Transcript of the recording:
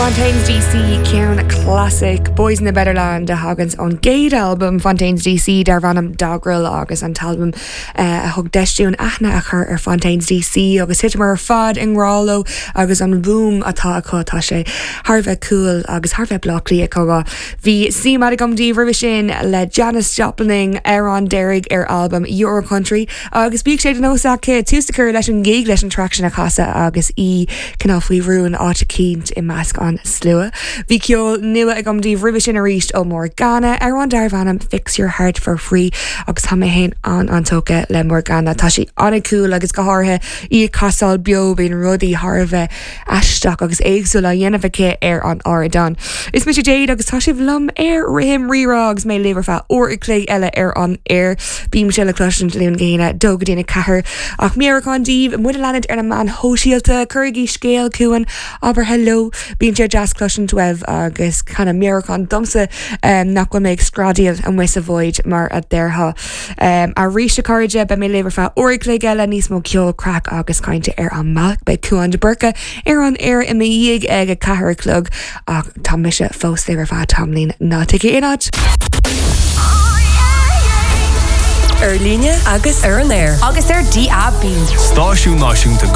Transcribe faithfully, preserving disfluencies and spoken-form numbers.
Fontaines DC ceann classic Boys in the Better Land a thagann ón gcéad album Fontaines DC darb ainm Dogrel agus an t-album uh, a thug deis dúinn aithne a chur ar Fontaines DC agus thiteamar ar fad i ngrá leo agus an bhuaim atá acu tá sé thar bheith cool agus thar bheith Bleá Cliath. Bhí sí agam daoibh roimhe sin le Janis Joplin ar an deiridh ar album Your Country agus bíonn sé de nós aici tús a chur leis an gig leis an traic sin a chasadh agus í cineál faoi rún áit eicínt i measc an slua. Bhí ceol nua agam daoibh roimhe sin arís ó Morgana ar an darb ainm Fix Your Heart for Free agus tá mé féin an an-tógtha le Morgana Tá sí an-cool agus go háirithe í ag casadh beo bíonn rudaí thar a bheith aisteach agus éagsúil á dhéanamh aici ar an ardán. Is mise Jade agus tá sibh liom ar Rithim Rírá agus mé libh ar feadh uair a chloig eile ar an air. Bím sé le cloisint Luan go hAoine dó go dtí a ceathair ach meabhrúchán daoibh muid a leanúint ar na meáin shóisialta cuirigí scéal chugainn abair hello bíonn sé deas cloisint uaibh agus kind of meabhrúchán domsa um, nach bhfuil mé ag screadaíl amuigh sa void mar a déarfá. Um, arís a chairde beidh mé libh ar feadh uair a chloig eile níos mó ceol craic agus cainte ar an mbealach beidh Cuan de Burca ar an air i mo dhiaidh ag a ceathair a chlog ach tá mise fós libh ar feadh tamaillín ná téigí aon áit. Ar líne agus ar an aer. Agus ar DAB. Stáisiún Náisiúnta